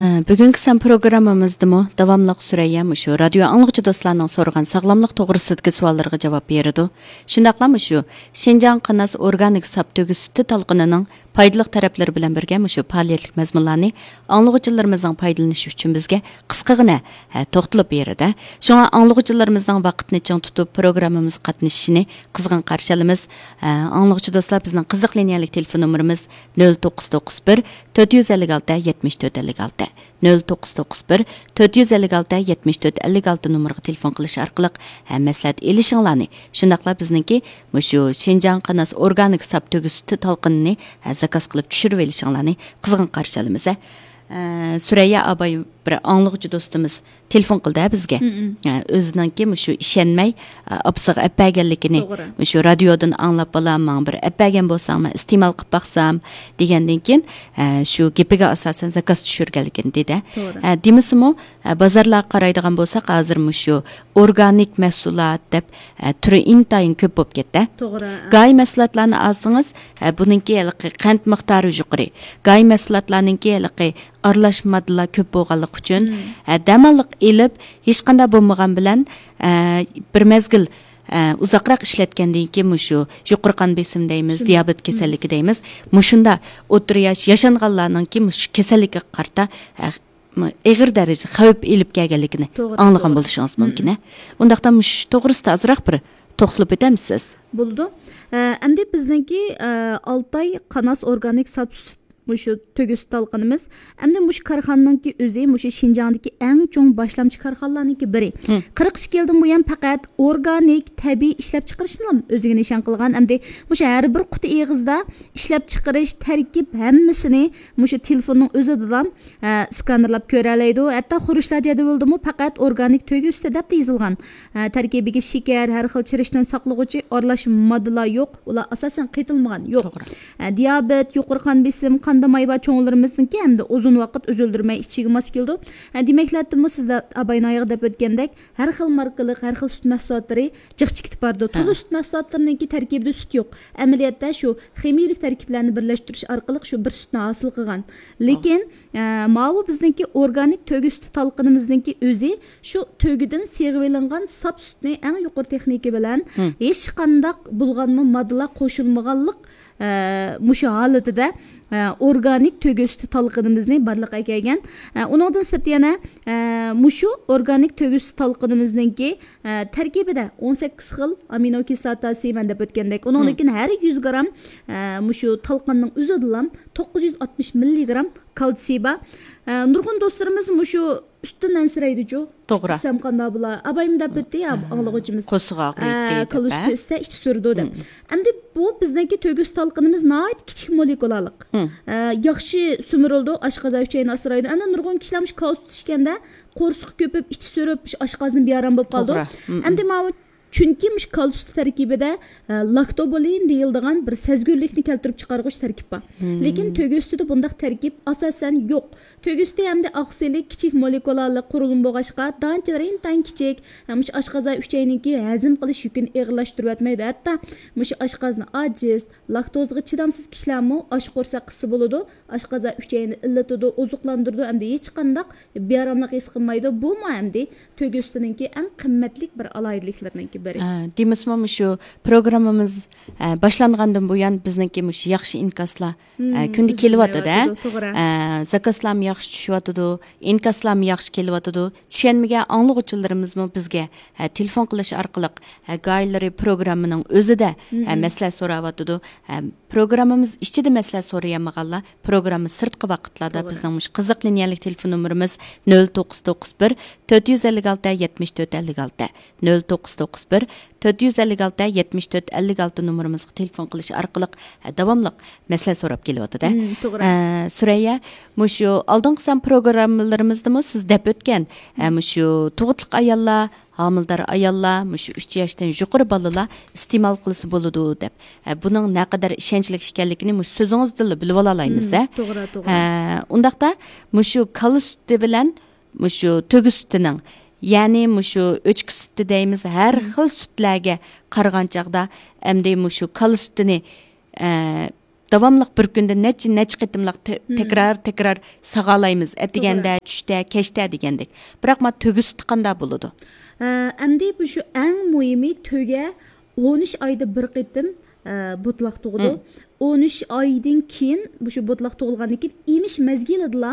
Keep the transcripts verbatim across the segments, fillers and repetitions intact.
بۈگۈنكى سان پروگراممىمىزدىمۇ داۋاملىق سۈرەييە مۇشۇ رادىيو ئاڭلىغۇچى دوستلارنىڭ سورىغان ساغلاملىق توغرىسىدىكى سوئاللىرىغا جاۋاب بېرىدۇ. شۇنداقلا مۇشۇ شىنجاڭ قاناس ئورگانىك ساپ تۆگە سۈتى تالقىنىنىڭ پايدىلىق تەرەپلىرى بىلەن بىرگە مۇشۇ پائالىيەتلىك مەزمۇنلارنى ئاڭلىغۇچىلىرىمىزنىڭ پايدىلىنىشى ئۈچۈن بىزگە قىسقىغىنە، ھە، توختىلىپ بېرىدۇ. شۇڭا ئاڭلىغۇچىلىرىمىزنىڭ ۋاقىتنى چىڭ تۇتۇپ پروگراممىمىزغا قاتنىشىشىنى قىزغىن قارشى ئالىمىز. ئە، ئاڭلىغۇچى دوستلار، بىزنىڭ قىزىق لىنىيەلىك تېلېفون نومۇرىمىز نۆل توققۇز توققۇز بىر، تۆت يۈز ئەللىك ئالتە، يەتمىش تۆت ئەللىك ئالتە، نۆل توققۇز توققۇز بىر، تۆت يۈز ئەللىك ئالتە، يەتمىش تۆت ئەللىك ئالتە نومۇرىغا تېلېفون قىلىش ئارقىلىق، ھە، مەسلىھەت ئېلىشىڭلارنى، شۇنداقلا بىزنىڭكى مۇشۇ شىنجاڭ قاناس ئورگانىك ساپ تۆگە سۈتى تالقىنىنى، ھە، زاكاز قىلىپ چۈشۈرۈۋېلىشىڭلارنى قىزغىن قارشى ئالىمىز، ھە. ئە، سۈرەييە ئاباي، بىر ئاڭلىغۇچى دوستىمىز تېلېفون قىلدى بىزگە. مم. ئە، ئۆزىنىڭكى مۇشۇ ئىشەنمەي، ئە، ئاپىسىغا ئەپ بەرگەنلىكىنى، توغرا. مۇشۇ رادىيودىن ئاڭلاپ، بالام، ماڭا بىر ئەپ بەرگەن بولساڭ، مەن ئىستېمال قىلىپ باقسام، دېگەندىن كېيىن، ئە، شۇ گېپىگە ئاساسەن زاكاز چۈشۈرگەنلىكىنى دېدى. توغرا. ئە، دېمىسىمۇ، ئە، بازارلارغا قارايدىغان بولساق، ھازىر مۇشۇ ئورگانىك مەھسۇلات دەپ، ئە، تۈرى ئىنتايىن كۆپ بولۇپ كەتتى. توغرا. گاھى مەھسۇلاتلارنى ئالسىڭىز، ئە، بۇنىڭكى ھېلىقى قەنت مىقدارى يۇقىرى. گاھى مەھسۇلاتلارنىڭكى ھېلىقى ئارىلاش ماددىلار كۆپ بولغانلىقى ئۈچۈن، مم. ئە، دەماللىق ئېلىپ، ھېچقانداق بولمىغان بىلەن، ئە، بىر مەزگىل، ئە، ئۇزاقراق ئىشلەتكەندىن كېيىن مۇشۇ يۇقىرى قان بېسىم دەيمىز، شۇنداق. دىيابېت مم. كېسەللىكى دەيمىز. مۇشۇنداق ئوتتۇرا ياش ياشانغانلارنىڭكى مۇشۇ كېسەللىككە قارىتا، ئە، ئېغىر دەرىجىدە خەۋپ ئېلىپ كەلگەنلىكىنى توغرا، ئاڭلىغان توغرا. بولۇشىڭىز مم. مۇمكىن، ھە؟ ئۇنداقتا مۇشۇ توغرىسىدا ئازراق بىر توختىلىپ ئۆتەمسىز؟ بولىدۇ. ئە، ئەمدى بىزنىڭكى، ئە، ئالتاي قاناس ئورگانىك ساپ سۈت مۇشۇ تۆگە سۈت تالقىنىمىز. ئەمدى مۇشۇ كارخانىنىڭكى ئۆزى مۇشۇ شىنجاڭدىكى ئەڭ چوڭ باشلامچى كارخانىلارنىڭكى بىرى. مم. قىرىق ئىككى يىلدىن بۇيان پەقەت ئورگانىك، تەبىئىي ئىشلەپچىقىرىشنىلا ئۆزىگە نىشان قىلغان. ئەمدى مۇشۇ ھەر بىر قۇتى ئېغىزدا ئىشلەپچىقىرىش، تەركىب ھەممىسىنى مۇشۇ تېلېفوننىڭ ئۆزىدىلا، ئە، سكانېرلاپ كۆرەلەيدۇ. ھەتتا خۇرۇچلار جەدۋىلىدىمۇ پەقەت ئورگانىك تۆگە سۈتى دەپلا يېزىلغان. ئە، تەركىبىگە شېكەر، ھەر خىل چىرىشتىن ساقلىغۇچى، ئارىلاش ماددىلار يوق. ئۇلار ئاساسەن قېتىلمىغان. يوق. توغرا. ئە، دىيابېت، يۇقىرى قان بېسىم، قاندا ماي بار چوڭلىرىمىزنىڭكى ھەمدە ئۇزۇن ۋاقىت ئۈزۈلدۈرمەي ئىچىشىگە ماس كېلىدۇ. ئە، دېمەكلەتتىمۇ سىز دە-، ئاباينايغا دەپ ئۆتكەندەك، ھەر خىل ماركىلىق، ھەر خىل سۈت مەھسۇلاتلىرى جىق چىقىپ بارىدۇ. ھە. تولا سۈت مەھسۇلاتلىرىنىڭكى تەركىبىدە سۈت يوق. ئەمەلىيەتتە شۇ خىمىيىلىك تەركىبلەرنى بىرلەشتۈرۈش ئارقىلىق شۇ بىر سۈتنى ھاسىل قىلغان. لېكىن، ئە، ماۋۇ بىزنىڭكى ئورگانىك تۆگە سۈتى تالقىنىمىزنىڭكى ئۆزى شۇ تۆگىدىن سىغىۋېلىنغان ساپ سۈتنى ئەڭ يۇقىرى تېخنىكا بىلەن، ھىم. ھېچقانداق بۇلغانما ماددىلار قوشۇلمىغانلىق، ئە، مۇشۇ ھالىتىدە، ئە، ئورگانىك تۆگە سۈتى تالقىنىمىزنى بارلىققا كەلگەن. ئە، ئۇنىڭدىن سىرت يەنە، ئە، مۇشۇ ئورگانىك تۆگە سۈتى تالقىنىمىزنىڭكى، ئە، تەركىبىدە ئون سەككىز خىل ئامىنو كىسلاتاسى، مەن دەپ ئۆتكەندەك. ئۇنىڭدىن ھىم. كېيىن ھەر يۈز گرام، ئە، مۇشۇ تالقاننىڭ ئۆزىدىلا توققۇز يۈز ئاتمىش مىللىگرام كالتسىي بار. ئە، نۇرغۇن دوستلىرىمىز مۇشۇ سۈتتىن ئەنسىرەيدىچۇ. توغرا. سۈت ئىچسەم قانداق بولا؟ ئابايمۇ دەپ ئۆتتى يا، ئاڭلىغۇچىمىز. قورسىقى ئاغرىيتتى ئە، دەپ، كالا ئە؟ سۈتى ئىچسە ئىچى سۈرىدۇ دەپ. مم. ئەمدى بۇ بىزنىڭكى تۆگە سۈت تالقىنىمىز ناھايىتى كىچىك مولېكۇلالىق. مم. ئە، ياخشى سۈمۈرۈلىدۇ، ئاشقازان ئۈچەينى ئاسرايدۇ. ئەمدى نۇرغۇن كىشىلەر مۇشۇ كالا سۈت ئىچكەندە قورسىقى كۆپۈپ، ئىچى سۈرۈپ، مۇشۇ ئاشقازىنى بىئارام بولۇپ قالىدۇ. توغرا. مم. ئەمدى ماۋۇ چۈنكى مۇشۇ كالا سۈتى تەركىبىدە، ئە، لاكتوبولىن دېيىلىدىغان بىر سەزگۈرلۈكنى كەلتۈرۈپ چىقارغۇچ تەركىب بار. مم. لېكىن تۆگە سۈتىدە بۇنداق تەركىب ئاساسەن يوق. تۆگە سۈتى ھەمدە ئاقسىلى كىچىك مولېكۇلالىق قۇرۇلما بولغاچقا، دانچىلىرى ئىنتايىن كىچىك، ھەم مۇشۇ ئاشقازان ئۈچەينىڭكى ھەزىم قىلىش يۈكىنى ئېغىرلاشتۇرۇۋەتمەيدۇ. ھەتتا مۇشۇ ئاشقازىنى ئاجىز، لاكتوزىغا چىدامسىز كىشىلەرمۇ ئاچ قورساق قىلسا بولىدۇ. ئاشقازان ئۈچەينى ئىللىتىدۇ، ئوزۇقلاندۇرىدۇ، ئەمدى ھېچقانداق بىئاراملىق ھېس قىلمايدۇ. بۇمۇ ئەمدى تۆگە سۈتىنىڭكى ئەڭ قىممەتلىك بىر ئالاھىدىلىكلىرىنىڭكى بىرى. ئە، دېمىسىمۇ مۇشۇ پروگراممىمىز، ئە، باشلانغاندىن بۇيان بىزنىڭكى مۇشۇ ياخشى ئىنكاسلار، ئە، مم، كۈندە كېلىۋاتىدۇ. كېلىۋاتىدۇ، توغرا. ئە، زاكازلارمۇ ياخشى چۈشۈۋاتىدۇ، ئىنكاسلارمۇ ياخشى كېلىۋاتىدۇ. چۈشەنمىگەن ئاڭلىغۇچىلىرىمىزمۇ بىزگە، ئە، تېلېفون قىلىش ئارقىلىق، ئە، گاھىلىرى پروگراممىنىڭ ئۆزىدە، ئە، مم. مەسلىھەت سوراۋاتىدۇ. ئە، پروگراممىمىز ئىچىدە مەسلىھەت سورىيالمىغانلار پروگرامما سىرتقى ۋاقىتلاردا توغرا. بىزنىڭ مۇشۇ قىزىق لىنىيەلىك تېلېفون نومۇرىمىز نۆل توققۇز توققۇز بىر، تۆت يۈز ئەللىك ئالتە، يەتمىش تۆت ئەللىك ئالتە، نۆل توققۇز توققۇز بىر، تۆت يۈز ئەللىك ئالتە، يەتمىش تۆت ئەللىك ئالتە نومۇرىمىزغا تېلېفون قىلىش ئارقىلىق، ھە، داۋاملىق مەسىلە سوراپ كېلىۋاتىدۇ. مم، توغرا. ئە، سۈرەييە، مۇشۇ ئالدىنقى سان پروگراممىلىرىمىزدىمۇ سىز دەپ ئۆتكەن، ئە، مۇشۇ تۇغۇتلۇق ئاياللار، ھامىلىدار ئاياللار، مۇشۇ ئۈچ ياشتىن يۇقىرى بالىلار ئىستېمال قىلسا بولىدۇ دەپ. ئە، بۇنىڭ نەقەدەر ئىشەنچلىك ئىكەنلىكىنى مۇشۇ سۆزىڭىزدىنلا بىلىۋالالايمىز، مم، ھە؟ توغرا، توغرا. ئە، ئۇنداقتا مۇشۇ كالا سۈتى بىلەن مۇشۇ تۆگە سۈتىنىڭ، يەنى مۇشۇ ئۆچكە سۈتى دەيمىز، ھەر مم. خىل سۈتلەرگە قارىغان چاغدا، ئەمدى مۇشۇ كالا سۈتىنى، ئە، داۋاملىق بىر كۈندە نەچچە، نەچچە قېتىملىق تە-، مم. تەكرار، تەكرار ساغالايمىز. توغرا. ئەتىگەندە، چۈشتە، كەچتە دېگەندەك. بىراق، ما تۆگە سۈتى قانداق بولىدۇ؟ ئە، ئەمدى بۇ شۇ ئەڭ مۇھىمى تۆگە ئون ئۈچ ئايدا بىر قېتىم، ئە، بوتىلاق تۇغىدۇ. مم. ئون ئۈچ ئايدىن كېيىن، بۇ شۇ بوتىلاق تۇغۇلغاندىن كېيىن ئېمىش مەزگىلىدىلا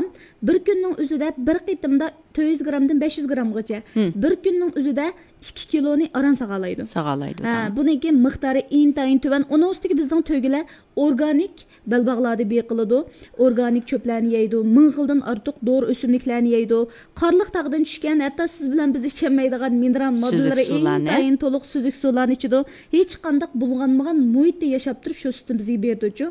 بىر كۈننىڭ ئۆزىدە بىر قېتىمدا تۆت يۈز گرامدىن بەش يۈز گرامغىچە، مم. بىر كۈننىڭ ئۆزىدە ئىككى كىلونى ئاران ساغالايدۇ. ساغالايدۇ، ھە، تاڭ. بۇنىڭكى مىقدارى ئىنتايىن تۆۋەن. ئۇنىڭ ئۈستىگە بىزنىڭ تۆگىلەر ئورگانىك بەلباغلاردا بېقىلىدۇ. ئورگانىك چۆپلەرنى يەيدۇ. مىڭ خىلدىن ئارتۇق دورا ئۆسۈملۈكلەرنى يەيدۇ. قارلىق تاغدىن چۈشكەن، ھەتتا سىز بىلەن بىز ئىچەلمەيدىغان مىنېرال ماددىلىرى سۈزۈك سۇلارنى. ئىنتايىن تولۇق سۈزۈك سۇلارنى ئىچىدۇ. ھېچقانداق بۇلغانمىغان مۇھىتتا ياشاپ تۇرۇپ شۇ سۈتنى بىزگە بېرىدۇچۇ.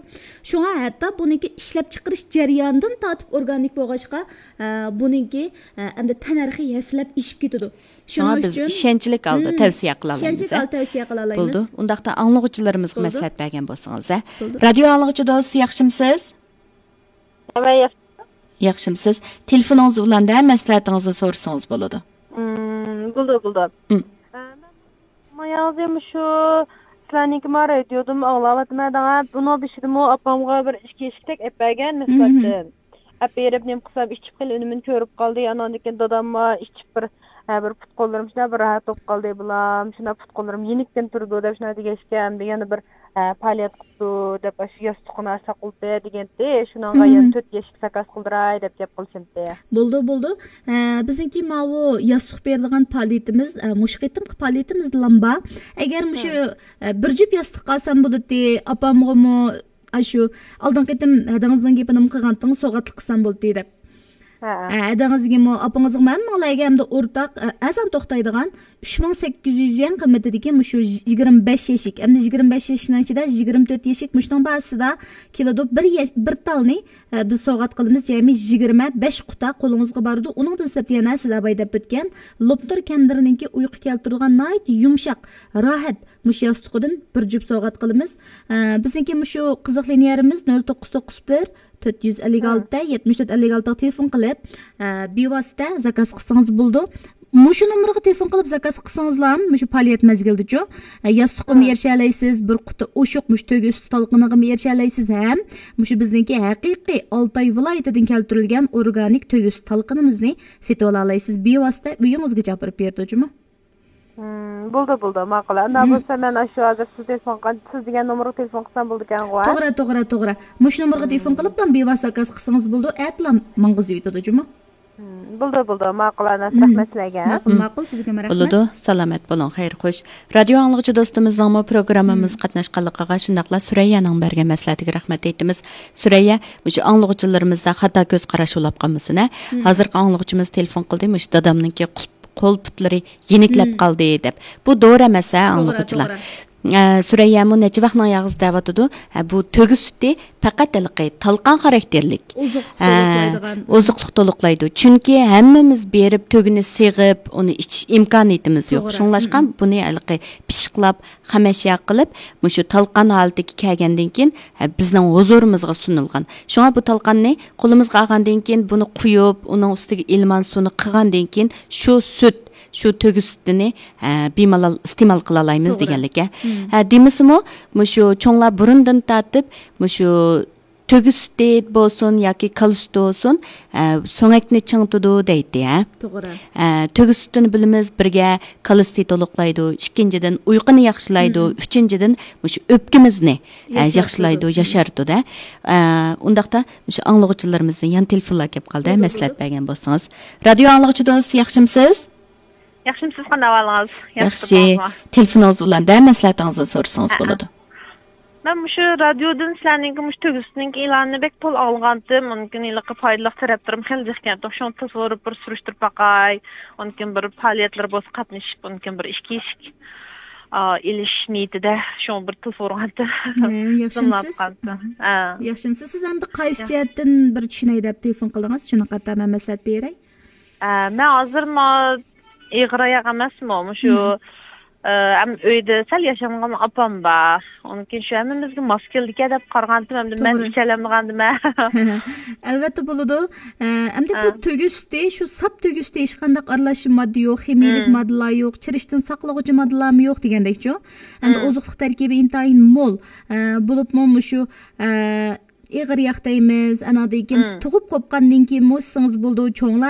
شۇڭا ھەتتا بۇنىڭكى ئىشلەپچىقىرىش جەريانىدىن تارتىپ ئورگانىك بولغاچقا، ئە، بۇنىڭكى، ئە، ئەمدى تەننەرخى ھەسسىلەپ ئېشىپ كېتىدۇ. شۇڭا شۇنىڭ بىز ئۈچۈن، ئىشەنچلىك ھالدا مم، تەۋسىيە قىلالىمىز، ئىشەنچلىك ھە؟ ھالدا تەۋسىيە قىلالايمىز. بولدى. ئۇنداقتا ئاڭلىغۇچىلىرىمىزغا بولدى. مەسلىھەت بەرگەن بولسىڭىز، ھە؟ بولدى. رادىيو ئاڭلىغۇچى دوست، ياخشىمسىز؟ ھەممە ياخشى. ياخشىمسىز؟ تېلېفونىڭىز ئۇلاندە، مەسلىھەتىڭىزنى سورىسىڭىز بولىدۇ. مم، بولدى، بولدى. مم. ئە، مەن ماياڭزى مۇشۇ سىلەرنىڭكى ما رادىيودىمۇ ئاڭلاۋاتىمەن دەڭە. بۇنىڭ بېشىدىمۇ ئاپامغا بىر ئىچكى ئىشىكتەك ئەپ بەرگەن مم. نىسبەتتىن. ئەپ بېرىپ، نېمە قىلسام، ئىچىپ خېلى ئۈنۈمىنى كۆرۈپ قالدى. ئاناندىن كېيىن داداممۇ ئىچىپ بىر، ھە، بىر پۇت قوللىرىم شۇنداق بىر راھەت بولۇپ قالدى، بالام، شۇنداق پۇت قوللىرىم يېنىككىن تۇرىدۇ دەپ شۇنداق دېگەچكە، ئەمدى يەنە بىر، ھە، پائالىيەت قىپتۇ دەپ، ئاشۇ ياستۇقىنى ساقلىتى دېگەنتى، شۇنىڭغا يەنە تۆت يەشىك زاكاز قىلدۇراي دەپ گەپ قىلىشىمتى. بولدى، بولدى. ھە، بىزنىڭكى ماۋۇ ياستۇق بېرىدىغان پائالىيىتىمىز، ھە، مۇشۇ قېتىمقى پائالىيىتىمىزدىلا بار. ئەگەر مۇشۇ، ھە، بىر جۈپ ياستۇق قالسام بولىدۇ، ئاپامغىمۇ ئاشۇ ئالدىنقى قېتىم ھەدىڭىزنىڭ گېپىنىمۇ قىلغانتىڭىز، سوۋغاتلىق قىلسام بولدى دەپ. ھە. ھە، ھەدىڭىزگىمۇ، ئاپىڭىزغىمۇ، ھەممىڭلارگە ئەمدى ئورتاق، ئە، ئەرزان توختايدىغان ئۈچ مىڭ سەككىز يۈز يۈەن قىممىتىدىكى مۇشۇ يىگىرمە بەش يەشىك، ئەمدى يىگىرمە بەش يەشىكنىڭ ئىچىدە يىگىرمە تۆت يەشىك مۇشۇنىڭ بارىسىدا كېلىدۇ. بىر يەش-، بىر تالنى، ئە، بىز سوۋغات قىلىمىز، جەمئىي يىگىرمە بەش قۇتا قولىڭىزغا بارىدۇ. ئۇنىڭدىن سىرت يەنە سىز ئەباي دەپ ئۆتكەن لوپنۇر كەندىرىنىڭكى ئۇيقۇ كەلتۈرىدىغان ناھايىتى يۇمشاق، راھەت، مۇشۇ ياستۇقىدىن بىر جۈپ سوۋغات قىلىمىز. ئە، بىزنىڭكى مۇشۇ قىزىق لىنىيەمىز نۆل توققۇز توققۇز بىر، تۆت يۈز ئەللىك ئالتە، يەتمىش تۆت ئەللىك ئالتىغا تېلېفون قىلىپ، ئە، بىۋاسىتە زاكاز قىلسىڭىز بولىدۇ. مۇشۇ نومۇرغا تېلېفون قىلىپ زاكاز قىلسىڭىزلا مۇشۇ پائالىيەت مەزگىلىدىچۇ، ئە، ياستۇققىمۇ ئېرىشەلەيسىز، بىر قۇتا ئوشۇق مۇشۇ تۆگە ئۈستى تالقىنىغىمۇ ئېرىشەلەيسىز ھەم مۇشۇ بىزنىڭكى ھەقىقىي ئالتاي ۋىلايىتىدىن كەلتۈرۈلگەن ئورگانىك تۆگە ئۈستى تالقىنىمىزنى سېتىۋالالايسىز. بىۋاسىتە ئۆيىڭىزگىچە ئاپىرىپ بېرىدۇ جۇمۇ. مم، بولدى، بولدى، ماقۇل. ئەمما بولسا مەن ئاشۇ ھازىر سىز تېلېفون قىلغان، سىز دېگەن نومۇرغا تېلېفون قىلسام بولىدىكەنغۇ، ھە؟ توغرا، توغرا، توغرا. مۇشۇ نومۇرغا تېلېفون قىلىپلا بىۋاسىتە زاكاز قىلسىڭىز بولىدۇ، ئەتىلا ماڭغۇزۇۋېتىدۇ جۇمۇ. مم، بولدى، بولدى، ماقۇل، ئەنەس، رەھمەت سىلەرگە. ماقۇل، ماقۇل، سىزگىمۇ رەھمەت. بولىدۇ، سالامەت بولۇڭ، خەير خوش. رادىيو ئاڭلىغۇچى دوستىمىزنىڭمۇ پروگراممىمىزغا قاتناشقانلىقىغا، شۇنداقلا سۈرەييەنىڭ بەرگەن مەسلىھەتىگە رەھمەت ئېيتىمىز. سۈرەييە، مۇشۇ ئاڭلىغۇچىلىرىمىزدا خاتا كۆز قاراش بولاپ قالمىسۇن، ھە؟ ھازىرقى ئاڭلىغۇچىمىز تېلېفون قىلدى، مۇشۇ دادامنىڭكى قول پۇتلىرى يېنىكلەپ قالدى دەپ. بۇ دورا ئەمەس، ھە، ئاڭلىغۇچىلار. توغرا، توغرا. ئە، سۈرەييەمۇ نەچچە ۋاقنىڭ ياغىسى دەۋاتىدۇ. ھە، بۇ تۆگە سۈتى پەقەت ھېلىقى تالقان خاراكتېرلىك. ئوزۇقلۇق ھە، تولۇقلايدىغان. ئوزۇقلۇق تولۇقلايدۇ. چۈنكى ھەممىمىز بېرىپ تۆگىنى سېغىپ، ئۇنى ئىچىش ئىمكانىيىتىمىز يوق. توغرا. شۇڭلاشقا بۇنى ھېلىقى پىششىقلاپ، خامەشيا قىلىپ، مۇشۇ تالقان ھالىتىگە كەلگەندىن كېيىن، ھە، بىزنىڭ ھۇزۇرىمىزغا سۇنۇلغان. شۇڭا بۇ تالقاننى قولىمىزغا ئالغاندىن كېيىن، بۇنى قۇيۇپ، ئۇنىڭ ئۈستىگە ئىلمان سۇنى قىلغاندىن كېيىن، شۇ سۈت، شۇ تۆگە سۈتىنى، ھە، بىمالال ئىستېمال قىلالايمىز دېگەنلىك، ھە. ھە، دېمىسىمۇ، مۇشۇ چوڭلار بۇرۇندىن تارتىپ، مۇشۇ تۆگە سۈتى بولسۇن ياكى كالا سۈتى بولسۇن، ئە، سۆڭەكنى چىڭىتىدۇ دەيتتى، ھە؟ توغرا. ئە، تۆگە سۈتىنى بىلىمىز، بىرگە كالا سۈتى تولۇقلايدۇ، ئىككىنچىدىن، ئۇيقۇنى ياخشىلايدۇ، ئۈچىنچىدىن، مۇشۇ ئۆپكىمىزنى، ئە، ياخشىلايدۇ، ياشارتىدۇ، ھە؟ ئە، ئۇنداقتا مۇشۇ ئاڭلىغۇچىلىرىمىزنى يەنە تېلېفونلار كەپ قالدى، ھە، مەسلىھەت بەرگەن بولسىڭىز. رادىيو ئاڭلىغۇچى دوست، ياخشىمسىز؟ ياخشىمسىز، قانداق ئەھۋالىڭىز؟ ياخشى. تېلېفونىڭىز بىلەن دە مەسلىھەتىڭىزنى سورىسىڭىز بولىدۇ. مەن مۇشۇ رادىيودىن سىلەرنىڭكى مۇشۇ تۆگە سۈتىنىڭكى ئېلانىنى بەك تولا ئاڭلىغانتىم. ئۇنىڭدىن كېيىن ھېلىقى پايدىلىق تەرەپلىرىمۇ خېلى جىقكەنتۇق. شۇڭا تېلېفون ئۇرۇپ بىر سۈرۈشتۈرۈپ باقاي. ئۇنىڭدىن كېيىن بىر پائالىيەتلەر بولسا قاتنىشىپ، ئۇنىڭدىن كېيىن بىر ئىچكى ئىشىك، ئا، ئېلىش نىيىتىدە. شۇڭا بىر تېلېفون ئۇرغانتىم. ھە، ياخشىمسىز؟ ھە. ياخشىمسىز؟ سىز ئەمدى قايسى جەھەتتىن بىر چۈشىنەي دەپ تېلېفون قىلدىڭىز؟ شۇنىڭغا قارىتا مەن مەسلىھەت بېرەي. ئە، مەن ھازىر ما-، ئېغىر ئاياق ئەمەسمۇ، مۇشۇ ئەم ئۆيدە سەل ياشانغان ئاپام بار. ئۇنىڭ كېيىن شۇ ھەممىمىزگە ماس كېلىدىكەن دەپ قارىغانتىم، ئەمدى مەن توغرا. ئىچەلەمدىغاندىم. ئەلۋەتتە بولىدۇ. ئە، ئەمدى بۇ ھە. تۆگە سۈتى، شۇ ساپ تۆگە سۈتى، ھېچقانداق ئارىلاشما ماددا يوق، خىمىيەلىك مم. ماددىلار يوق، چىرىشتىن ساقلىغۇچى ماددىلارمۇ يوق دېگەندەكچۇ. ئەمدى مم. ئوزۇقلۇق تەركىبى ئىنتايىن مول. ئە، بولۇپمۇ مۇشۇ، ئە، ئېغىر ياق دەيمىز، ئاناندىن كېيىن مم. تۇغۇپ قوپقاندىن كېيىنمۇ ئىچسىڭىز بولىدۇ، چوڭلار